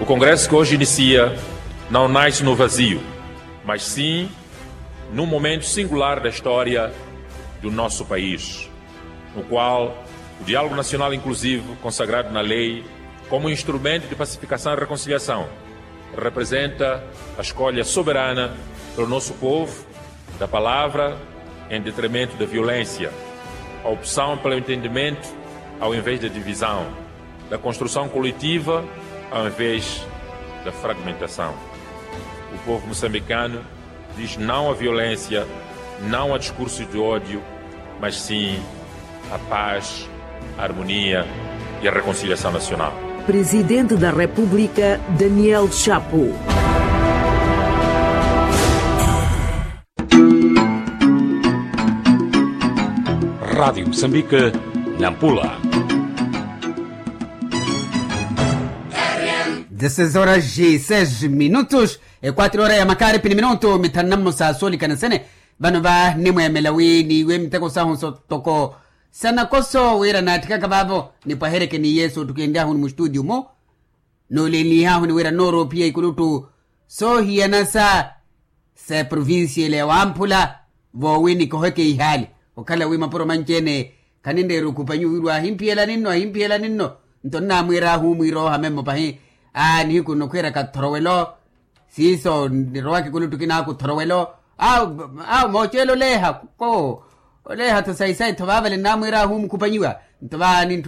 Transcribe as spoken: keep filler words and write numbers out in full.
Congresso que hoje inicia não nasce no vazio, mas sim num momento singular da história do nosso país, no qual o diálogo nacional inclusivo, consagrado na lei como instrumento de pacificação e reconciliação, representa a escolha soberana pelo nosso povo da palavra em detrimento da violência, a opção pelo entendimento ao invés da divisão, da construção coletiva ao invés da fragmentação. O povo moçambicano diz não à violência, não a discurso de ódio, mas sim à paz, à harmonia e à reconciliação nacional. Presidente da República, Daniel Chapo. Rádio Moçambique, Nampula. Dezesseis horas e seis minutos, e quatro horas ya makaripi ni minutu mithanu na mmosa soolikana sene. Vano va nimweemela wi niiwe miteko sahu ntoko sanakoso wira naatthikaka vaavo nipwahereke ni yesu ottukenry'ahu ni mustutio mu. Noolenlih'ahu ni wira nooroophiya ikulutu soohiyana sa sa eprovincia ile ya wamphula. Voowi nikoheke ihaali okhala wi mapuro manci-ene khaninreera okhupanyiwa wirwa ahimphiyelani nno ahimphiyelani nno. Nto nnaamwiir'ahu mwiira oohame mmo pahi aa nihiku nnokhwiira kathorowelo siiso nirowaka ekuluttu kinaaka othorowelo. Awo mooceela oleeha ko oleeha-tho sayi-sayi-tho vaavale nnaamwiir'ahu mukhupanyiwa. Nto vaani ntthu